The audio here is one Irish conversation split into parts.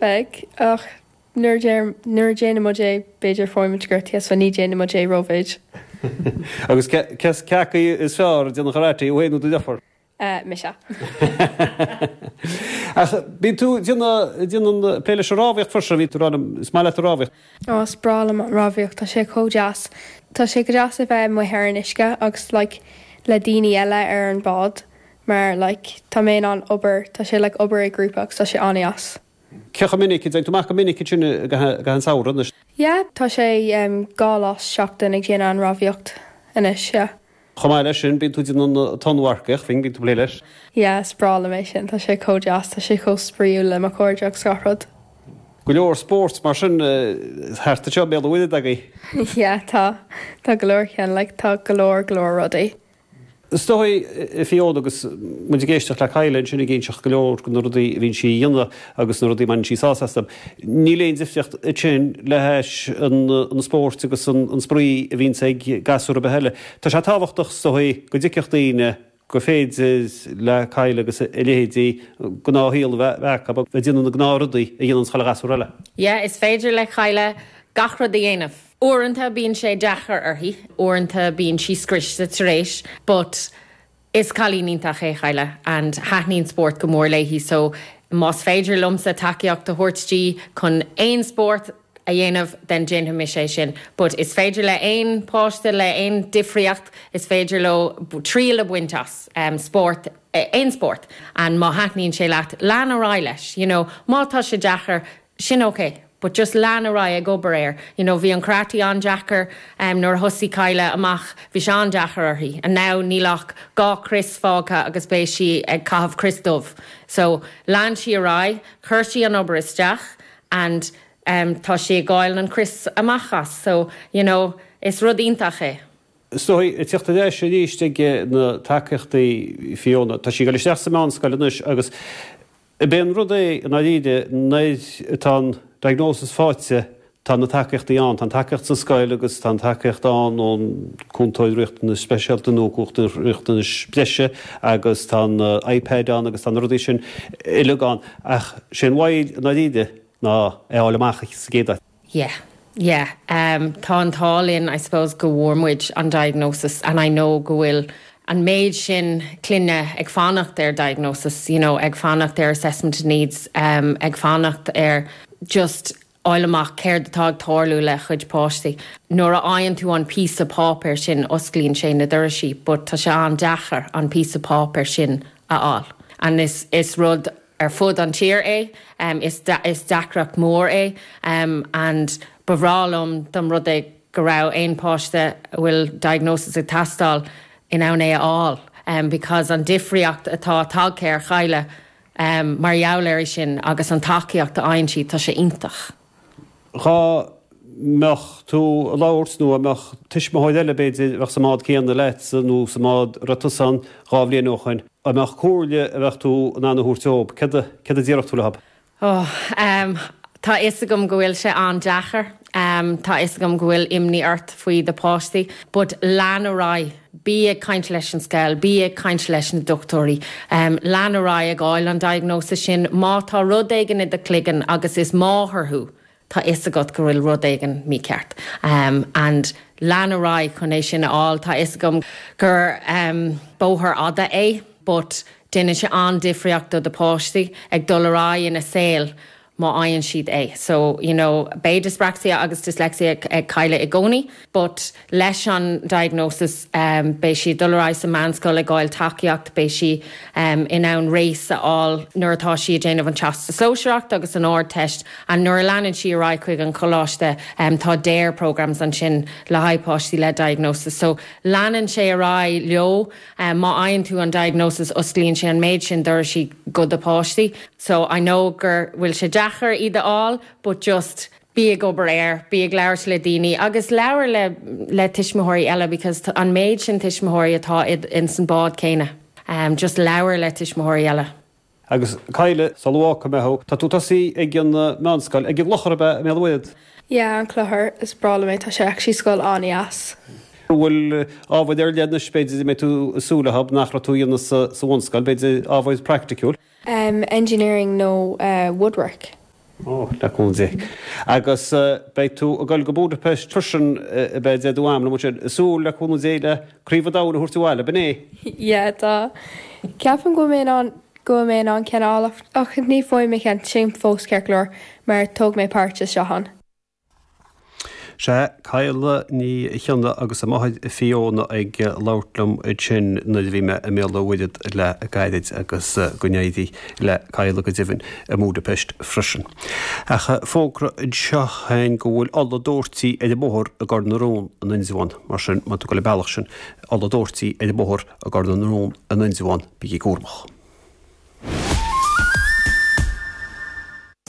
Beidh, ach nuair a nuair a déanann muid é, b'fhéidir faigheann muid gortaithe so ní déanann muid é rómhéid. Agus cé acu is fearr ag déanamh karate, thú féin nó do dheirfiúr? Mise. Ach bíonn tú ag déanamh plé leis an rámhaíocht freisin, bhí tú ag rá liom, is maith leat an rámhaíocht. Ó, is breá liom an rámhaíocht, tá sé chomh deas. Tá sé go deas a bheith amuigh ar an uisce agus like le daoine eile ar an bád mar like tá mé in ann obair, tá sé like obair i grúpa agus tá sé an-deas. Cé chomh minic, an dtéann tú amach go minic ansin i gcaitheamh an tsamhraidh anois? Yeah, tá sé 2 lá sa seachtain ag déanamh an rámhaíocht anois, yeah. Chomh maith leis sin, bíonn tú ag déanamh an tonnmharcaíocht, bíonn tú ag plé leis. Yeah, is breá liom é sin, tá sé chomh deas, tá sé chomh spraíúil le mo chairde agus gach rud. Go leor spóirt mar sin thart anseo i mBéal an Mhuirthead agaibh. Yeah, tá, tá go leor ceann, like tá go leor, go leor rudaí. Is dóigh, a Fiona, agus muid ag éisteacht le Kyla ansin ag inseacht go leor de na rudaí a bhíonn sí a dhéanamh agus na rudaí a mbaineann sí sásamh astu, níl aon difríocht ansin le hais an spóirt agus an spraoi a bhíonns ag gasúr ar bith eile. Tá sé tábhachtach, is dóigh, go dtuigfeadh daoine gur féidir le Kyla agus a leithéidí gnáthshaol a bheith acu, a bheith ag déanamh na gnáthrudaí a dhéananns chuile ghasúr eile. Yeah, is féidir le Kyla gach rud a dhéanamh. Uaireanta bíonn sé deacair uirthi, uaireanta bíonn sí scriosta tar éis but is cailín iontach é Kyla and thaitníonn spórt go mór léi so más féidir liomsa tacaíocht a thabhairt di chun aon spórt a dhéanamh then déanfaidh mise é sin but is féidir le aon páiste le aon difríocht is féidir leo triail a bhaint as spórt aon spórt and má thaitníonn sé leat lean ar aghaidh leis you know má tá sé deacair sin ok but just lean ar aghaidh ag obair air you know bhí an karate an-deacair em nuair a thosaigh Kyla amach bhí sé an-deacair uirthi and now níl ach 2 crios fágtha agus beidh sí ag caitheamh crios dubh so lean sí ar aghaidh chuir sí an obair isteach and em tá sí ag fáil an crios amach as so you know is rud iontach é. Is dóigh, ag teacht ar ais arís ag na tacaíochtaí Fiona, tá sí ag dul isteach sa meánscoil anois agus Ab é an rud é, i ndáiríre, nuair atá an diagnosis faighte, tá na tacaíochtaí ann. Tá an tacaíocht sa scoil agus tá an tacaíocht ann ón cúntóir riachtanais speisialta nó cúntóir riachtanais breise agus tá an iPad ann agus tá na rudaí sin uilig ann. Ach sé an mhoill, i ndáiríre, ná é a fháil amach sa gcéad áit. Yeah. Yeah. Um, tá an t-ádh linn, I suppose, go bhfuair muid an diagnosis and I know go bhfuil an méid sin clainne ag fanacht ar diagnosis, you know, ag fanacht ar assessment of needs, um, ag fanacht ar just fháil amach céard atá ag tarlú le chuid páistí. Nuair a fhaigheann tú an píosa páipéir sin, osclaíonn sé na doraisí, but tá sé an-deacair an píosa páipéir sin a fháil. And is, is rud ar fud an tír é. Is deacracht mór é and ba bhreá liom dá mba rud é go raibh aon páiste a bhfuil diagnosis ag teastáil in ann é a fháil because an difríocht atá tagtha ar Kyla mar gheall air sin agus an tacaíocht a fhaigheann sí, tá sé iontach. Dhá mbeadh tú ag labhairt nó dá mbeadh tuismitheoir eile, b'fhéidir, a bheadh sa mbád céanna leatsa nó sa mbád a raibh tusa ann 2 bhliain ó shoin, dá mbeadh comhairle a bheadh tú in ann a thabhairt dóibh, céard a, céard a déarfadh tú leob? Oh, em, tá fhios agam go bhfuil sé an-deacair. Em, tá fhios agam go bhfuil imní ort faoi do pháistí, but lean ar aghaidh. Bí ag caint leis an scoil, bí ag caint leis na dochtúirí. Em, lean ar aghaidh ag fháil an diagnosis sin. Má tá rud éigin i do chloigeann agus is máthair thú, tá fhios agat go bhfuil rud éigin mícheart. Em, and lean ar aghaidh chun é sin a fháil. Tá fhios agam gur, em, bóthar fhada é, but déanann sé an-difríocht do do pháistí ag dul ar aghaidh ina saol má fhaigheann siad é. So, you know, beidh dyspraxia agus dyslexia ag Kyla i gcónaí, but leis an diagnosis beidh sí ag dul ar aghaidh sa meánscoil ag fháil tacaíocht, beidh sí in ann race a fháil nuair atá sí ag déanamh an Teastas Sóisearach agus an Ardteist and nuair a leanann sí ar aghaidh chuig an choláiste tá DARE programs ansin le haghaidh páistí le diagnosis. So leanann sé ar aghaidh leo. Má fhaigheann tú an diagnosis osclaíonn sé an méid sin doraisí go do páistí. So I know gur bhfuil sé deacair iad a fháil but just bí ag obair air, bí ag labhairt le daoine agus labhair le le tuismitheoirí eile because an méid sin tuismitheoirí atá ins an bád céanna. Just labhair le tuismitheoirí eile. Agus Kyla, sula bhfágfaidh mé thú, tá tú tosaí ag an meánscoil, ag an gClochar ab ea, i mBéal an Mhuirthead? Yeah, an Clochar, is breá liom é, tá sé actually scoil an-dheas. An bhfuil ábhair ar leith anois, b'fhéidir, a mbeidh tú ag súil leo nach raibh tú a dhéanamh sa bhunscoil, b'fhéidir ábhair praiticiúil? Engineering nó woodwork. Ó, le cúnamh Dé. Agus beidh tú ag dul go Budapest freisin ab ea deir tú am liom ansin, ag súil le cúnamh Dé le Craobh an Domhain a thabhairt abhaile, ab in é? Yeah, tá. Ceapaim go bhfuil mé in ann go bhfuil mé in ann ceann a fháil ach ní bhfaighidh mé ceann sin fós ceart go leor mar thóg mé páirt isteach ann. Sea, Cadhla Ní Chionnaith agus a máthair Fiona ag labhairt liom ansin nuair a bhí mé i mBéal an Mhuirthead le gairid agus go n-éirí le Cadhla go deimhin i mBudapest freisin. Ach fógra anseo féin go bhfuil ola dóirtí ar an mbóthar i gCor na Rón in Indreabhán, mar sin má tá tú ag dul an bealach sin, ola dóirtí ar an mbóthar i gCor na Rón in Indreabhán, bígí cúramach.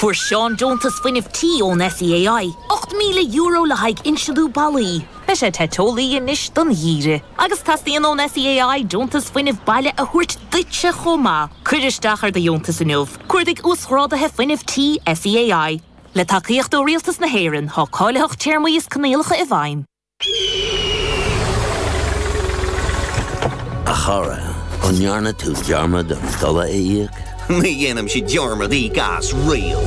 Fuair Seán deontas fuinnimh tí ón SEAI, €8,000 le haghaidh insealú ballaí. Beidh sé te teolaí anois don gheimhreadh. Agus teastaíonn ón SEAI deontas fuinnimh baile a thabhairt duitse chomh maith. Cuir isteach ar do dheontas inniu. Cuardaigh Uasghráduithe Fuinnimh Tí SEAI. Le tacaíocht ó Rialtas na hÉireann, tá cáilitheacht téarmaí is coinníollacha i bhfeidhm. A chara, an ndearna tú dearmad an dola a íoc? Ní dhéanaimse dearmad íoc as riamh.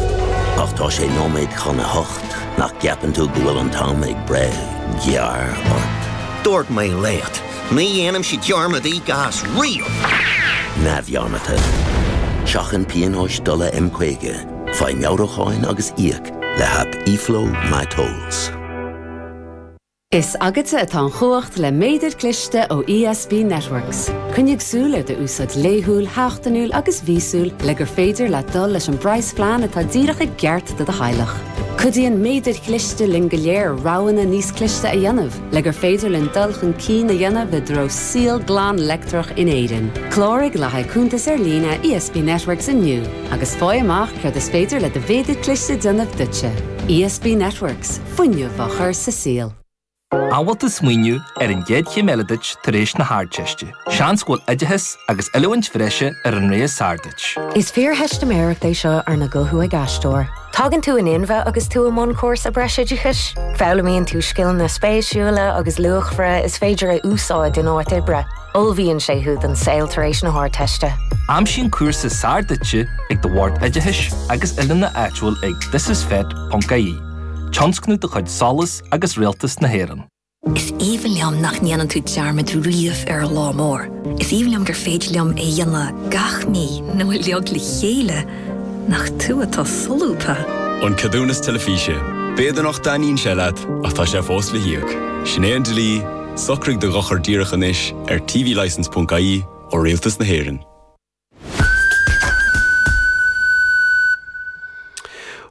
Ach tá sé nóiméad chun a hocht, nach gceapann tú go bhfuil an t-am ag breith gearr ort? Dúirt mé leat, ní dhéanaimse dearmad íoc as riamh! Neamhdhearmadta. Seachain pionóis dola M50, faigh meabhrúcháin agus íoc le haip eFlow MyTolls. Is agatsa atá an chumhacht le méadar cliste ó ESB Networks. Coinnigh súil ar d'úsáid laethúil, sheachtainiúil agus mhíosúil le gur féidir leat dul leis an bpraghasphlean atá díreach i gceart do do theaghlach. Cuidíonn méadair chliste linn go léir roghanna níos cliste a dhéanamh le gur féidir linn dul chun cinn a dhéanamh i dtreo saol glan leictreach in Éirinn. Cláraigh le haghaidh cuntas ar líne ESB Networks inniu agus faigh amach céard is féidir le do mhéadar cliste déanamh duitse. ESB Networks. Fuinneamh á chur sa saol. An bhfuil tú ag smaoineamh ar an gcéad chéim eile duit tar éis na hArdteiste? Seans go bhfuil oideachas agus oiliúint bhreise ar an rogha is fearr duit. Is fíortheistiméireacht é seo arna guthú ag aisteoir. Tagann tú in inmhe agus tú i mbun cúrsa breisoideachais. Foghlaimíonn tú scileanna spéisiúla agus luachmhara is féidir a úsáid in áit oibre. Ullmhaíonn sé thú don saol tar éis na hArdteiste. Aimsigh an cúrsa is fearr duitse ag do bhord oideachais agus oiliúna áitiúil ag thisisfet.ie. Tionscnamh de chuid SOLAS agus Rialtas na hÉireann. Is aoibhinn liom nach ndéanann tú dearmad riamh ar an lá mór. Is aoibhinn liom gur féidir liom é a dhéanamh gach mí nó uilig le chéile. Nach tú atá solúbtha! An Ceadúnas Teilifíse. B'fhéidir nach dtaitníonn sé leat, ach tá sé fós le híoc. Sin é an dlí, socraigh do dhochar díreach anois ar tvlicence.ie ó Rialtas na hÉireann.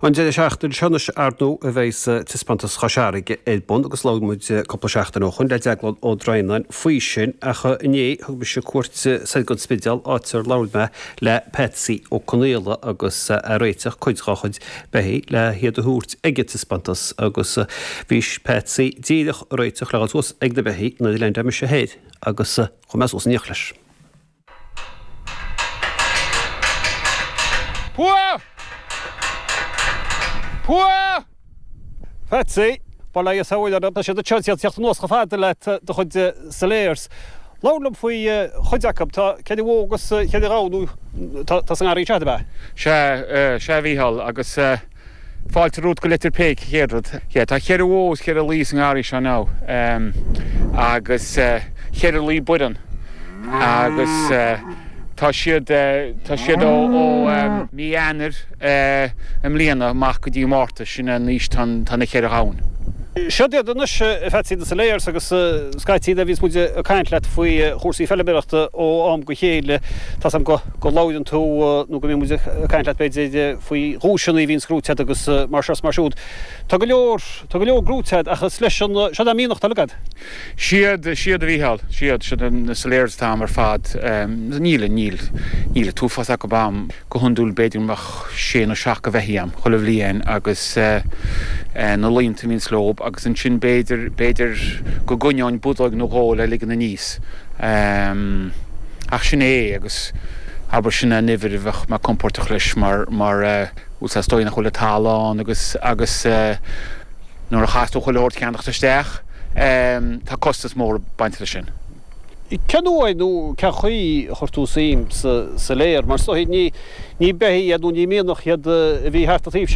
An deireadh seachtaine seo anois, ar ndóigh, a bheidh taispeántas Chois Fharraige ar bun agus labhair muid cúpla seachtain ó shoin le Deaglán Ó Droighneáin faoi sin ach inné thug mise cuairt soir go An Spidéal áit ar labhair mé le Patsy Ó Conaola agus é ag réiteach cuid dhá chuid beithígh le hiad a thabhairt ag an taispeántas agus bhí Patsy díreach ag réiteach le dhul suas ag na beithígh nuair a leaindeáil mise thoir agus chuaigh mé suas in éineacht leis. Pua! Pua! Patsy, bail ó Dhia is abhaile ort, tá siad anseo, ag teacht anuas chomh fada le do chuid salers. Labhair liom faoi chuid acu. Tá ceithre bhó agus cheithre ghamhain nó tá sa ngarraí anseo, ab ea? Sea, sea a Mhícheáil, agus Fáilte romhat go Leitir Péic, a chéad rud. Yeah, tá cheithre bhó is cheithre lao sa ngarraí seo now agus cheithre lao baireann agus tá siad, tá siad ó mí Eanáir i mbliana amach go dtí Márta, sin an aois tá na cheithre ghamhain. Siod iad anois, a Phatsy, na Salers agus scaití nuair a bhíonns muid ag caint leat faoi chúrsaí feilméarachta ó am go chéile, tá's a'm go labhrann tú nó go mbíonn muid ag caint leat b'fhéidir faoi dhuaiseanna a bhíonns gnóite agat agus mar seo is mar siúd. Tá go leor, tá go leor gnóite agat ach is leis an, siod é an mianach atá agat. Siad, siad a Mhícheáil, siad, siad na Salers atá a'm ar fad. Níl, níl, níl an t-uafás acu a'm. Go hiondúil b'fhéidir go mbeadh sé nó seacht de bheithígh a'm chuile bhliain agus na laonta a bhíonns leob agus ansin b'fhéidir, b'fhéidir go gcoinneoinn budóg nó dhó le ligean aníos. Ach sin é agus abair sin é an uimhir a bheadh mé compordach leis mar mar bhuel is dóigh nach bhfuil an talamh ann agus agus nuair a chaithfeas tú chuile shórt a cheannacht isteach tá costas mór ag baint leis sin. Cén uair nó cén chaoi a chuir tú suim sa Salaire? Mar is dóigh ní ní beithígh iad nó ní mianach iad a bhí thart an taobh seo.